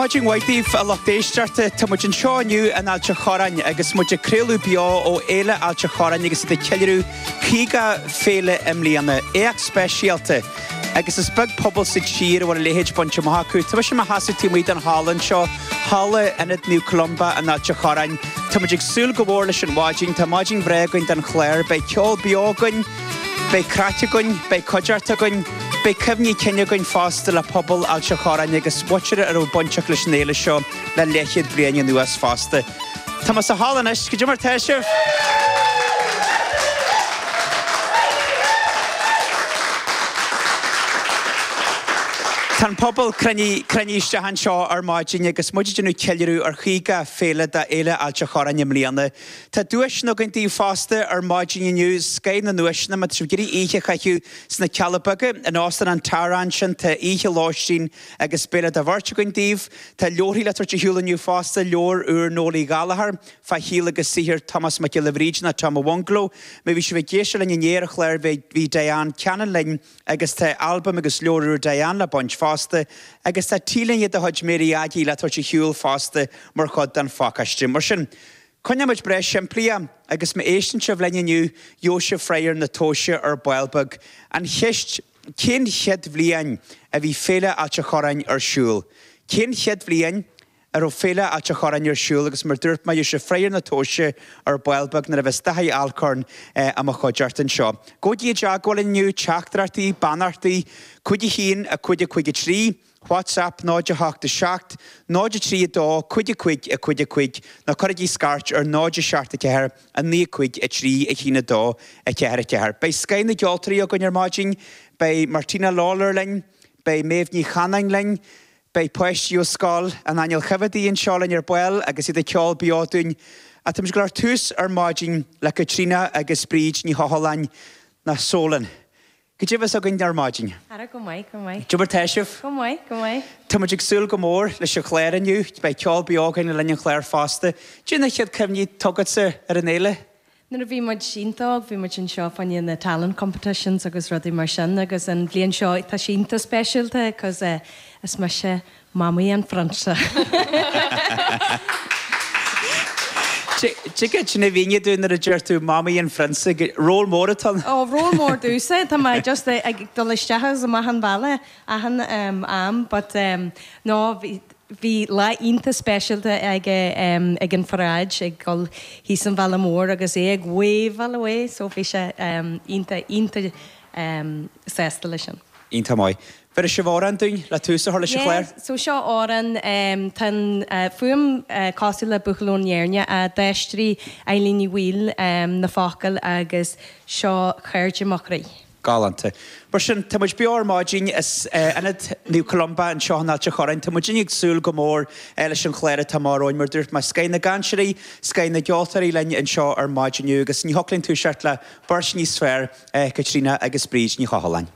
Maidin mhaith daoibh, a lucht éisteachta. Tá muid anseo inniu in Ailt a' Chorráin agus muid ag craoladh beo ó Fhéile Ailt a' Chorráin agus iad ag ceiliúradh 50 féile i mbliana. Éacht speisialta agus is beag pobal sa tír a bhfuil a leithéid bainte amach acu. Tá mise i mo sheasamh taobh amuigh den halla anseo, halla Ionad Naomh Columba in Ailt a' Chorráin. Tá muid ag súil go mór leis an mhaidin. Tá maidin bhreá againn don chlár. Beidh ceol beo againn. Beidh craic againn, beidh cuideachta againn, beidh cuimhní cinn againn fosta le pobal Ailt a' Chorráin agus muintir a raibh bainteach leis an fhéile seo le leathchéad bliain anuas fosta. Tá mé sa halla anois, cad é mar tá sibh? Tá an pobal cruinnithe isteach anseo ar maidin agus muid ag déanamh ceiliúradh ar 50 féile d'Fhéile Ailt a' Chorráin i mbliana. Tá duaiseanna againn daoibh fosta ar maidin inniu, scoth na nduaiseanna, má tá sibh ag iarraidh oíche a chaitheamh sna Cealla Beaga, in Óstán an Tara ansin, tá oíche lóistín agus béile do bheirt againn daoibh. Tá leabharthaí le tabhairt ar shiúl inniu fosta, leabhar úr Noelie Gallagher, fá shaol agus saothar Tomás Mac Giolla Bhríde nó Tom a' Bhungaló. Má bhí sibh ag éisteacht linn inné ar an chlár bhí Diane Cannon linn agus tá albam agus leabhar úr Diane le baint fosta agus tá T-léine de chuid Mary Aggie le tabhairt ar shiúl fosta mar chuid den phacáiste. Mar sin, Coinneoidh muid breá simplí é, agus má éisteann sibh linn inniu, gheobhaidh sibh freagra na tomhaiste ar ball beag. An cheist, cén chéad bhliain a bhí Féile Ailt a' Chorráin ar siúl? Cén chéad bhliain a raibh Féile Ailt a' Chorráin ar siúl agus mar dúirt mé, gheobhaidh sibh freagra na tomhaiste ar ball beag nuair a bheas Daithí Alcorn i mo chuideachta anseo. Gabhaigí i dteagmháil linn inniu, teachtaireachtaí, beannachtaí, 5 1 5 5 3. WhatsApp 0 8 7 0 3 2 5 5 5 5 nó cuirigí scairt ar 0 7 4 9 5 3 1 2 4 4. Beidh scoth na gceoltóirí againn ar maidin, beidh Martina Lawlor linn, beidh Méabh Ní Chanáin linn, beidh páistí ó Scoil an Aingil Choimheadaigh anseo linn ar ball agus iad ag ceol beo dúinn. Ach táimid ag dul ar tús ar maidin le Caitríona agus Bríd Ní Chochláin, nó Sólon. Cad é a bheas againn ar maidin? Ara go maith, go maith. Cad é mar tá sibh? Go maith, go maith. Tá muid ag súil go mór leis an chlár inniu. Beidh ceol beo againn le linn an chláir fosta. Cad é na chéad cuimhní atá agatsa ar an fhéile? Nuair a bhí muid iontach óg, bhí muid anseo fá choinne na talent competitions agus rudaí mar sin agus an bhliain seo tá sé iontach speisialta cos is mise Mamaí an Phrionsa. Tuige sin a mhínigh dúinn nuair a deir tú Mamaí an Phrionsa, ról mór atá ann. Ó, ról mór domhsa. Tá mé just ag dul isteach agus amach an bhealach achan am but no bhí bhí lá iontach speisialta aige ag an pharáid ag dul thíos an bhealach mór agus é ag wave-áil away so bhí sé iontach iontach sásta leis sin. Iontach maith. Bhéarfaidh sibh amhrán dúinn le tús a chur leis an chlár? Yeah, so seo amhrán, tá an fuaim cosúil le Buachaill ón Éirne, d'aistrigh Eilín Ní Bhaoill na focail agus seo Cairde mo Chroí. Galánta. Mar sin, tá muid beo ar maidin as Ionad Naomh Columba anseo in Ailt a' Chorráin. Tá muidinne ag súil go mór leis an chlár atá amach romhainn. Mar a dúirt mé, scoth na gcainteoirí, scoth na gceoltóirí linn anseo ar maidin inniu agus ní thiocfadh linn toiseacht le beirt níos fearr, Caitríona agus Bríd Ní Chochláin.